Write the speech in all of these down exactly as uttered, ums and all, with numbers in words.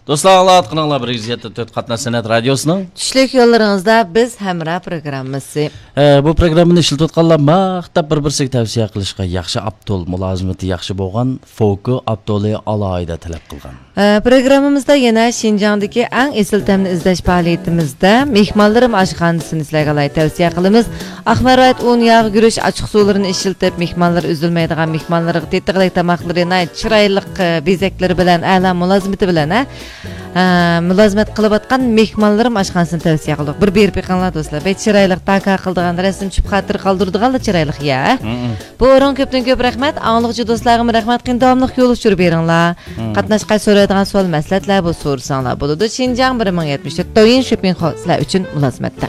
دوستلار، ئاڭلاۋاتقىنىڭلار بىر يۈز يەتتە تۆت قاتناش سەنئەت رادىيوسىنىڭ چۈشلۈك يوللىرىڭىزدا بىز ھەمراھ پروگراممىسى. ئە، بۇ پروگراممىنى ئىشلىتىۋاتقانلار ماختاپ بىر-بىرسىگە تەۋسىيە قىلىشقا ياخشى ئاپتول، مۇلازىمىتى ياخشى بولغان فوكو ئاپتولى ئالاھىدە تەلەپ قىلغان. ئە، پروگراممىمىزدا يەنە شىنجاڭدىكى ئەڭ ئېسىل تەمنى ئىزدەش پائالىيىتىمىزدە مېھمانلىرىم ئاشخانىسىنى سىلەرگە ئالاھىدە تەۋسىيە قىلىمىز. ئاق مەرۋايىت ئۇن، ياغ، گۈرۈچ، ئاچچىق سۇلىرىنى ئىشلىتىپ، مېھمانلار ئۈزۈلمەيدىغان، مېھمانلارغا تېتىغۇدەك تاماقلىرى، ناھايىتى چىرايلىق، ئە، بېزەكلىرى بىلەن، ئەلا مۇلازىمىتى بىلەن، ھە، ئە، مۇلازىمەت قىلىۋاتقان مېھمانلىرىم ئاشخانىسىنى تەۋسىيە قىلدۇق. بىر بېرىپ بېقىڭلار، دوستلار. بەك چىرايلىق، تاكا قىلىدىغان، رەسىم چۈشۈپ خاتىرە قالدۇرىدىغانلا چىرايلىق يا. ھە؟ مم. بۇ ئورۇنغا كۆپتىن كۆپ رەھمەت. ئاڭلىغۇچى دوستلارغىمۇ رەھمەت. قېنى داۋاملىق يول ئۇچۇرى بېرىڭلار. مم. قاتناشقا سورايدىغان سوئال، مەسلىھەتلەر بولسا سورىساڭلار بولىدۇ. شىنجاڭ بىر مىڭ يەتمىش تۆت، دويىن شوپىڭ خول سىلەر ئۈچۈن مۇلازىمەتتە.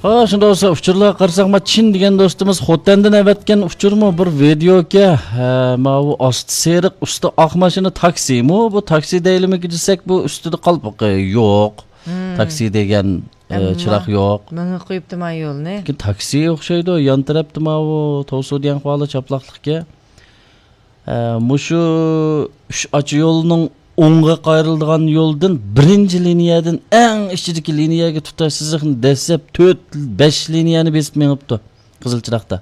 ھا، شۇنداق بولسا، ئۇچۇرلارغا قارىساق، ما چىن دېگەن دوستىمىز خوتەندىن ئەۋەتكەن ئۇچۇرمۇ بىر ۋىدېئوكەن. ھە، ماۋۇ ئاستى سېرىق، ئۈستى ئاق ماشىنا تاكسىمۇ؟ بۇ تاكسى دەيلىمىكى دېسەك، بۇ ئۈستىدە قالپىقى يوق. مم. تاكسى دېگەن، ئە، ئەمما چىراغ يوق. ماڭا قويۇپتۇ ما يولنى. لېكىن تاكسى ئوخشايدۇ، يان تەرەپتە ماۋۇ توسۇ دىيەن خۇالى چاپلاقلىقكەن. ئە، مۇشۇ ئۈچ ئاچا يولنىڭ ئوڭغا قايرىلىدىغان يولدىن بىرىنچى لىنىيەدىن ئەڭ ئىچىدىكى لىنىيەگە تۇتاش سىزىقنى دەسسەپ تۆت، بەش لىنىيەنى بېسىپ مېڭىپتۇ قىزىل چىراغدا.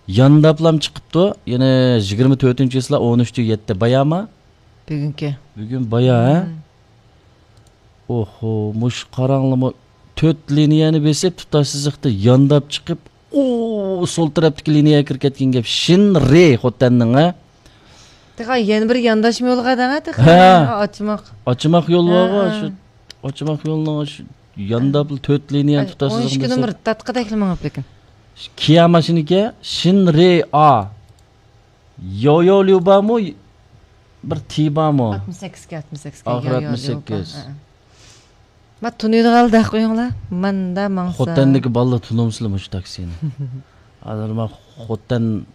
يانداپلام چىقىپتۇ. يەنە يىگىرمە تۆتىنچى چىسلا، ئون ئۈچتە يەتتە. بايامۇ؟ بۈگۈنكى. بۈگۈن بايا، ھە؟ مم. ئوھو، مۇشۇ قاراڭلىمۇ تۆت لىنىيەنى بېسىپ، تۇتاش سىزىقتا يانداپ چىقىپ، ئۇ سول تەرەپتىكى لىنىيەگە كىرىپ كەتكەن گەپ. شىن رې خوتەننىڭ، ھە؟ تېخى يەنە بىر يانداشما يولغا دەڭە تېخى. ھە. ئاچماق. ئاچماق يول ھە، بارغۇ، ھە. شۇ ئاچماق يولنىڭ شۇ يانداپلا تۆت لىنىيەنى تۇتاش سىزىقتا. ئون ئىككى نومۇر تاتقىدەكلا مېڭىپ لېكىن. كىيا ماشىنىكى، شىن رې ئا. يويو ليۇبامۇ؟ بىر تى بارمۇ؟ ئاتمىش سەككىزگە، ئاتمىش سەككىزگە. ئاخىرى يويو ئاتمىش سەككىز. ليۇبا. ھە، ھە. ما تونۇيدىغانلا دەپ قويۇڭلار. ماندا ماڭسا. خوتەندىكى بالىلار تونۇمسىلە مۇشۇ تاكسىنى؟ ھازىر ما خوتەن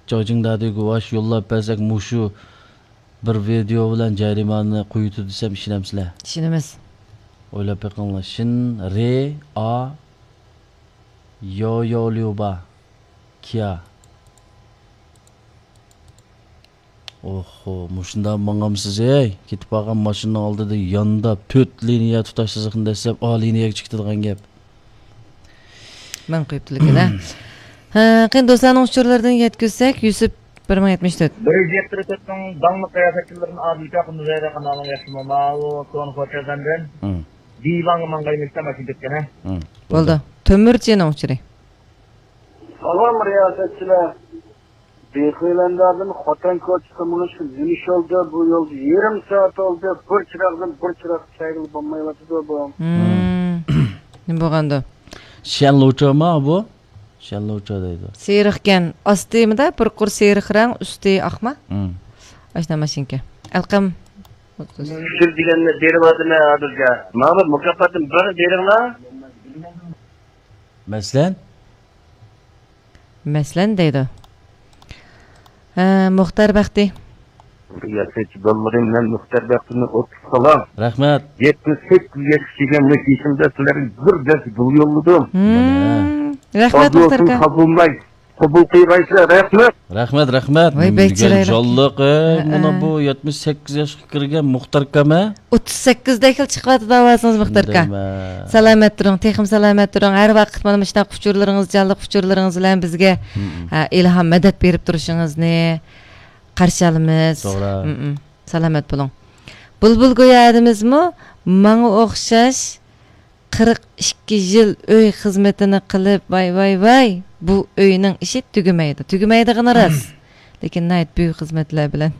جاجىڭدادىگە ۋاش يوللاپ بەرسەك، مۇشۇ بىر ۋىدېئو بىلەن جەرىمانە قويۇتىدۇ دېسەم، ئىشىنەمسىلەر؟ ئىشىنىمىز. ئويلاپ بېقىڭلار. شىن رې ئا يويو ليۇبا كىيا. ئوھو، مۇشۇنداق ماڭامسىز، ھەي؟ كېتىپ بارغان ماشىنىنىڭ ئالدىدا يانداپ تۆت لىنىيە تۇتاش سىزىقنى دەسسەپ، ئا لىنىيەگە چىقىدىغان گەپ. مەن قويۇپتىلىكىن، ھە. ھە، قېنى دوستلارنىڭ ئۇچۇرلىرىدىن يەتكۈزسەك، يۈسۈپ بىر مىڭ يەتمىش تۆت. بىر يۈز يەتتە تۆتنىڭ داڭلىق رىياسەتچىلىرىدىن ئادىل كاكىمىز ھەيدەر قانالنىڭ ياخشىمۇ؟ ماۋۇ كونا خوتەن سەندىن. ھىم. دىۋاڭغا ماڭغايمىز دە ماشىنا كەتكەن، ھە؟ ھىم. بولدى. تۆمۈرچىنىڭ ئۇچۇرى. سالام رىياسەتچىلەر. بىخۇيلەندادىن خوتەن كوچىسىغا مېڭىشقا نېمە ئىش بولدى؟ بۇ يولدا يېرىم سائەت بولدى. بىر چىراغدىن بىر چىراغقا چايغىلى بولمايۋاتىدۇ بۇ. ھىم. نېمە بولغاندۇ؟ شيەنلۇچۇما بۇ؟ شيەنلۇچۇ دەيدۇ. سېرىقكەن. ئاستىمىدا بىر قۇر سېرىق رەڭ، ئۈستى ئاقما؟ ھىم. ئاشۇنداق ماشىنىكەن. ئەلقەم. سىز دېگەننى بېرىۋاتىمەن ھازىرچە. ماڭا بىر مۇكاپاتتىن بىرنى بېرىڭلار. مەسىلەن؟ مەسىلەن دەيدۇ. ھە، مۇختەر بەختى. رىياسەتچى بالىلىرىم، مەن مۇختەر بەختىنى ئوتتۇز سالام. رەھمەت. يەتمىش سەككىز ياشقا كىرگەن مۇشۇ يېشىمدا سىلەرگە بىر دەرس بۇ يوللىدىم. ھىم. رەھمەت، قوبۇل مۇختەر قىلسۇن، ئاكا. قوبۇلماي، قوبۇل قىلغايسىلەر، رەھمەت. رەھمەت، رەھمەت. ۋاي، بەك چىرايلىق. جانلىق، ئەي، ھە، مانا ھە. بۇ يەتمىش سەككىز ياشقا كىرگەن مۇختەر ئاكام، ھە؟ ئوتتۇز سەككىزدەكلا چىقىۋاتىدۇ ئاۋازىڭىز، مۇختەر ئاكا. دەيمەن. سالامەت تۇرۇڭ، تېخىمۇ سالامەت تۇرۇڭ. ھەر ۋاقىت مانا مۇشۇنداق ئۇچۇرلىرىڭىز، جانلىق ئۇچۇرلىرىڭىز بىلەن بىزگە، ھىم. ھە، ئىلھام، مەدەت بېرىپ تۇرۇشىڭىزنى قارشى ئالىمىز. توغرا. ھىم، ھىم. سالامەت بولۇڭ. بۇلبۇل گويا ئادىمىزمۇ ماڭا ئوخشاش قىرىق ئىككى يىل ئۆي خىزمىتىنى قىلىپ، ۋاي، ۋاي، ۋاي، بۇ ئۆينىڭ ئىشى تۈگىمەيدۇ. تۈگىمەيدىغىنى راست. لېكىن ناھايىتى بۈيۈك خىزمەتلەر بىلەن.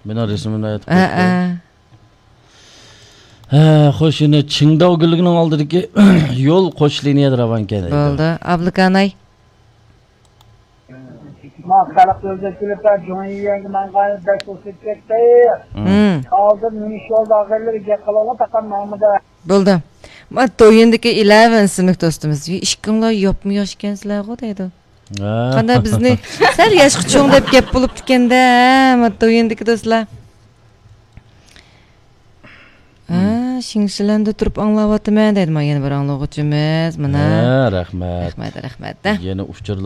مېنىڭ رەسىمىمنى ئايتىپ ھە، قويۇپتۇ. ھە. ھە، خوش، يەنە چىڭداۋ گۈللۈكىنىڭ ئالدىدىكى يول قوش لىنىيەدە راۋانكەن دەيدۇ. بولدى. ئابلىكاناي. ما خەلق ئۆزەكچىلىكتە جۇڭيىيەنگە ماڭغان بەك ئۇسۇپ كەتتى. ھىم. ئالدىن مېنى شولدا ئاغىنىلىرى گەپ قىلىۋالغان تاقام ماڭمىدى. بولدى. ما دويىندىكى ئىلەۋېن ئىسىملىك دوستىمىز. ئىككىڭلار ياپمۇ ياش ئىكەنسىلەرغۇ دەيدۇ. ھە. قانداق بىزنى سەل ياشقا چوڭ دەپ گەپ بولۇپتىكەن-دە، ھە، ما دويىندىكى دوستلار. ھە، ھىم. شىڭشىلەندە تۇرۇپ ئاڭلاۋاتىمەن دەيدۇ. ما يەنە بىر ئاڭلىغۇچىمىز. مانا. ھە، رەھمەت. رەھمەت، رەھمەت. يەنە ئۇچۇرلار